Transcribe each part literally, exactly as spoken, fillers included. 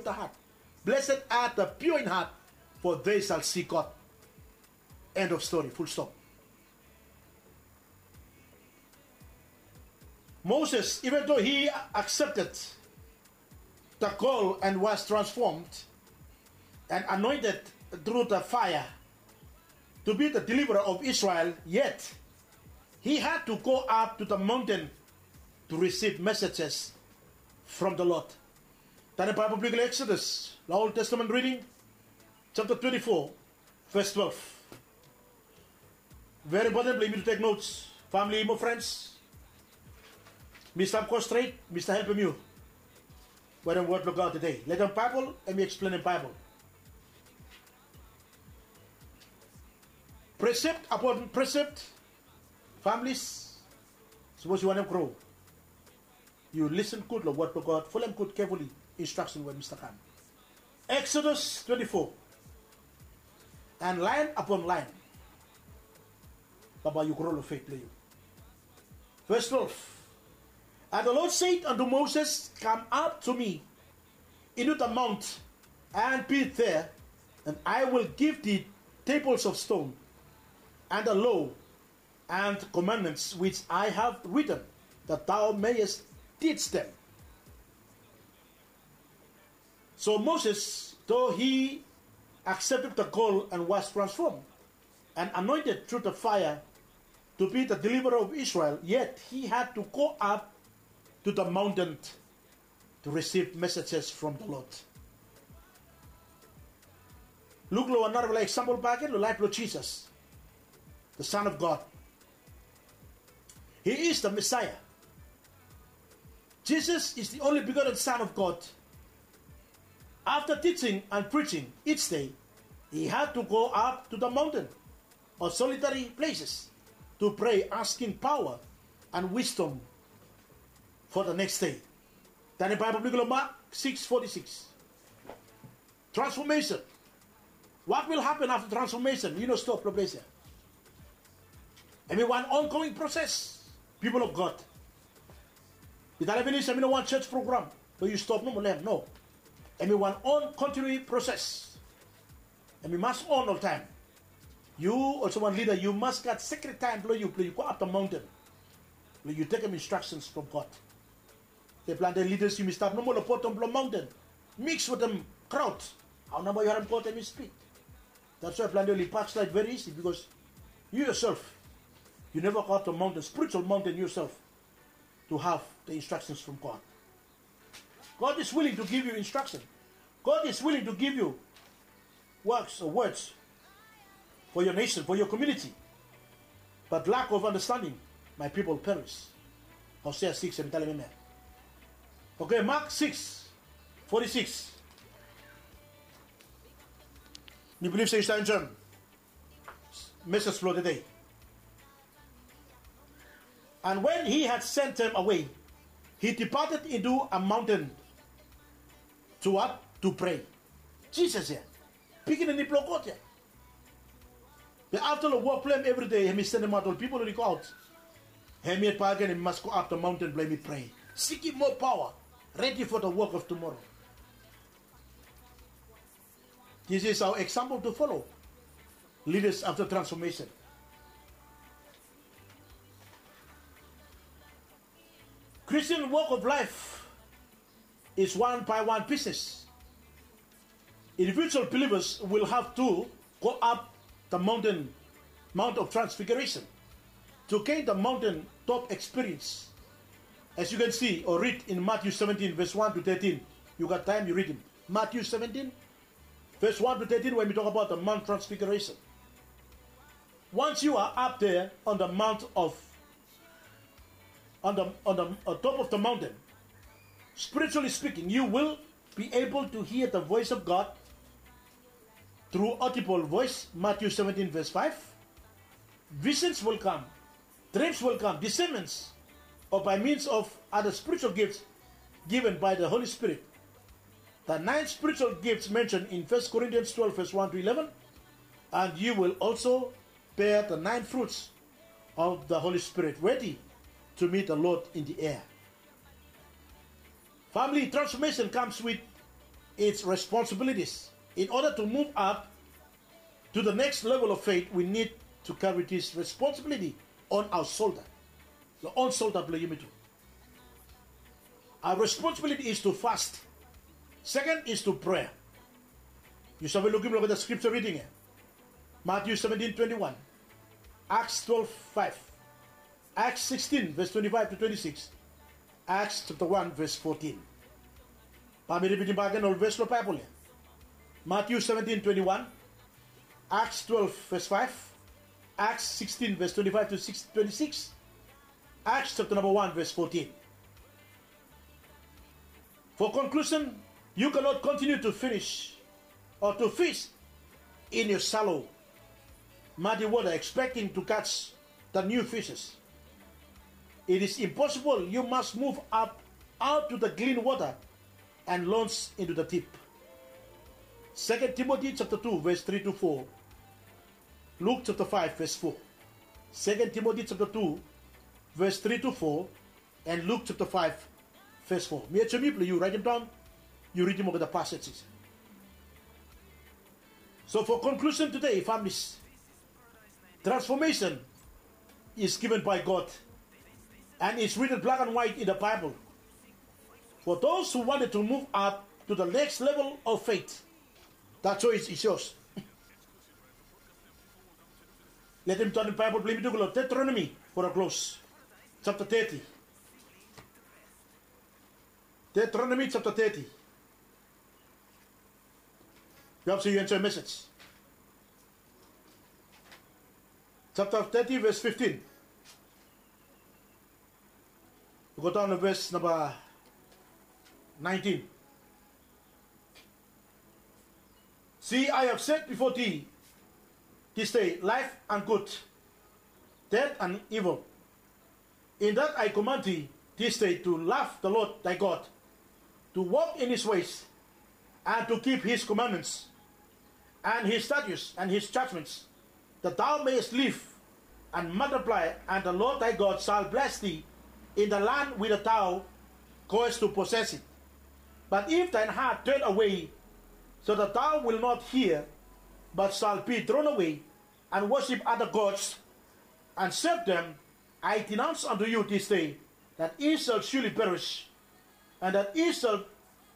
the heart. Blessed are the pure in heart, for they shall see God. End of story. Full stop. Moses, even though he accepted the call and was transformed and anointed through the fire to be the deliverer of Israel, yet he had to go up to the mountain to receive messages from the Lord. Tande Baebol blong yumi lo Exodus, lo Old Testament reading, chapter twenty-four, verse twelve. Very important blong yumi to take notes, family mo friends. Mi stap go stret, mi stap helpem yu wetem word blong God tede. Letem Baebol, hemi eksplenem Baebol. Precept upon precept, families, sapos yu wantem gro, yu listen gud lo word blong God, folem gud carefully instruction we mi stap kam. Exodus twenty-four. And line upon line, bambae yu gro lo faith blong yu. Verse twelve. And the Lord said unto Moses, come up to me into the mount and be there, and I will give thee tables of stone and the law and commandments which I have written, that thou mayest teach them. So Moses, though he accepted the call and was transformed and anointed through the fire to be the deliverer of Israel, yet he had to go up to the mountain to receive messages from the Lord. Luk lo wan narafala example bakegen lo laef blong Jisas, the Son of God. He is the Messiah. Jesus is the only begotten Son of God. After teaching and preaching each day, he had to go up to the mountain or solitary places to pray, asking power and wisdom for the next day. Tande Baebol blong yumi lo Mark six forty-six. Transformation. What will happen after transformation? Yu no stop lo ples ya. Hemi wan ongoing process, people of God. Mi talem finis, hemi no wan church program we yu stop nomo lo hem, no. Hemi wan on continuing process. Hemi mas on oltaem. Yu olsem wan lida, yu mas gat secret taem blong yu, blong yu go up the mountain, blong yu tekem instructions from God. Plante lidas yumi stap nomo lo bottom blong maonten, miks wetem kraod. Hao nao bae yu harem God hemi spik? That's why plante oli backslide very easy, because you yourself, you never go up the mountain, spiritual mountain yourself, to have the instructions from God. God is willing to give you instruction. God is willing to give you works or words for your nation, for your community. But lack of understanding, my people perish. Hosea six hemi talem hemia. Okay, Mark six forty-six. Mi bilif se yu save enjoem message blong tede. And when he had sent them away, he departed into a mountain to what? To pray. Jisas ya, pikinini blong God ya. Be afta long wok blong hem evri dei, hemi sendemaot ol pipol oli go aot. Hem yet bakegen hemi mas go ap long maonten blong hemi prea, sikim moa paoa, redi fo the work of tomorrow. This is our example to follow. Leaders after transformation. Christian walk of life is one by one business. Individual believers will have to go up the mountain, Mount of Transfiguration, to gain the mountain top experience. As you can see or read in Matthew seventeen, verse one to thirteen. You got time, you read him. Matthew seventeen, verse one to thirteen, we hemi tokbaot the Mount Transfiguration. Once you are up there on the mount of, on the, on the, uh, top of the mountain, spiritually speaking, you will be able to hear the voice of God through audible voice, Matthew seventeen, verse five. Visions will come, dreams will come, discernments, or by means of other spiritual gifts given by the Holy Spirit. The nine spiritual gifts mentioned in First Corinthians twelve, verse one to eleven, and you will also bear the nine fruits of the Holy Spirit, ready to meet the Lord in the air. Family, transformation comes with It's responsibilities. In order to move up to the next level of faith, we need to carry this responsibility on our shoulder. Long on shoulder blong yumi tu. Our responsibility is to fast. Second is to prayer. Yu save lukim long the scripture reading ya. Matthew seventeen twenty-one, Acts twelve five, Acts sixteen verse twenty-five to twenty-six, Acts chapter one verse fourteen. Bae mi ripitim bakegen ol ves long Baebol ya. Matthew seventeen twenty-one, Acts twelve verse five, Acts sixteen verse twenty-five to six twenty-six, Acts chapter number one verse fourteen. For conclusion, you cannot continue to finish or to fish in your shallow, muddy water expecting to catch the new fishes. It is impossible. You must move up out to the clean water and launch into the deep. Second Timothy chapter two verse three to four. Luke chapter five verse four. Second Timothy chapter two verse three to four and Luke chapter five verse four. Mi askem yu blong yu raetem daon, yu ridim olgeta passages. So for conclusion today, families, transformation is given by God and is written black and white in the Bible. For those who wanted to move up to the next level of faith, that choice is yours. Letem mi tanem Baebol blong yumi tu go long Deuteronomy for a close. Chapter thirty. Deuteronomy chapter thirty. Yu hap se yu enjoy message. Chapter thirty verse fifteen. Yu go daon long verse number nineteen. See, I have set before thee this day life and good, death and evil. In that I command thee this day to love the Lord thy God, to walk in his ways, and to keep his commandments, and his statutes, and his judgments, that thou mayest live and multiply, and the Lord thy God shall bless thee in the land whither thou goest to possess it. But if thine heart turn away, so that thou wilt not hear, but shalt be drawn away, and worship other gods, and serve them, I denounce unto you this day, that ye shall surely perish, and that ye shall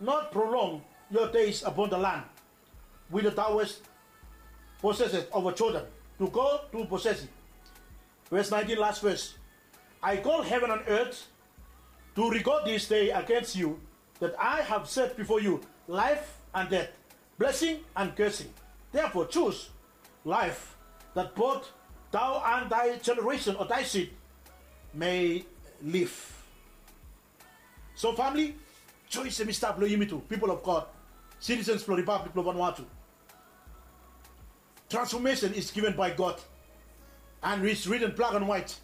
not prolong your days upon the land whither thou wast possessed over Jordan, to go to possess it. Verse nineteen, last verse. I call heaven and earth to record this day against you, that I have set before you life and death, blessing and cursing. Therefore choose life, that both thou and thy generation or thy seed may live. So family, choice hemi stap long yumi tu, people of God, citizens blong Republic blong Vanuatu. Transformation is given by God and is written black and white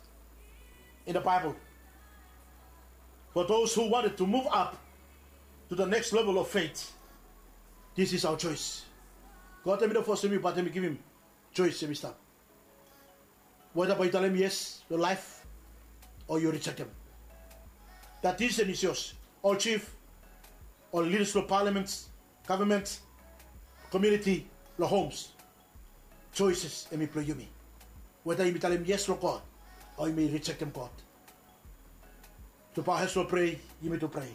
in the Bible. For those who wanted to move up to the next level of faith, this is our choice. God hemi no fosem yu, bat hemi givim choice hemi stap. Weda bae yu talem yes long laef o yu rejektem. That decision is yours. Ol chief, ol leaders long parliament, government, community, long homes. Choices hemi blong yumi. Weda yumi talem yes long God o yumi rejektem God. To paohes long prea, yumi tu prea.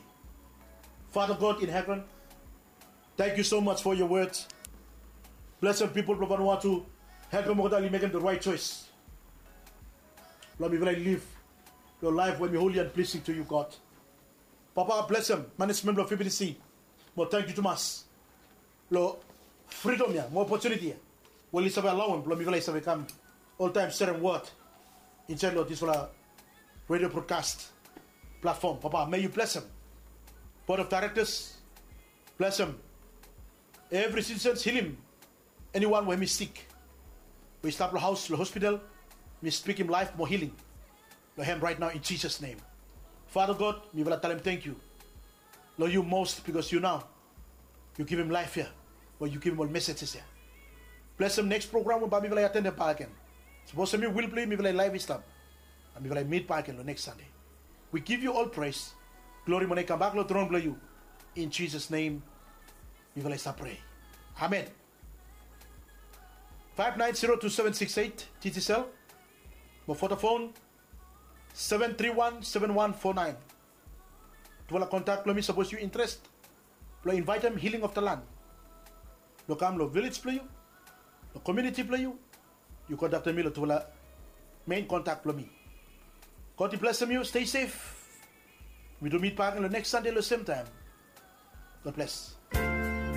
Father God in heaven, thank you so much for your word. Blessem pipol blong Vanuatu. Helpem olgeta oli mekem the right choice blong mifala i liv long laef we hemi holy and pleasing to you, God. Papa, blessem management blong F B C. Mo tangkiu tumas long fridom ya mo opotuniti ya we oli save alaoem blong mifala i save kam oltaem serem wod insaed long disfala radio broadcast platform. Papa, may yu blessem board of directors. Blessem evri citizens, healing anyone we hemi sik, we i stap long haos, long hospital. Mi spikim laef mo healing long hem right now in Jesus' name. Father God, mifala talem tangkiu long yu most, bikos yu nao yu givim laef ya, we yu givim ol messages ya. Blessem next program we bae mifala i atendem bakegen. Sapos hemi will blong yu, mifala i laef i stap, and mifala i mit bakegen long next Sunday. We give you all praise, glory mo nao i kambak long tron blong yu. In Jesus' name, Mifala i save prea. Amen. Five nine zero two seven six eight, Digicel, mo Vodafone, seven three one seven one four nine. Tufala kontak blong mi sapos yu interes blong invaetem Healing of the Land blong kam long vilej blong yu, long komuniti blong yu. Yu kontaktem mi long tufala mein kontak blong mi. God i blesem yu, stay safe. Mi tu mit bakegen long neks Sande long semtaem. God bless.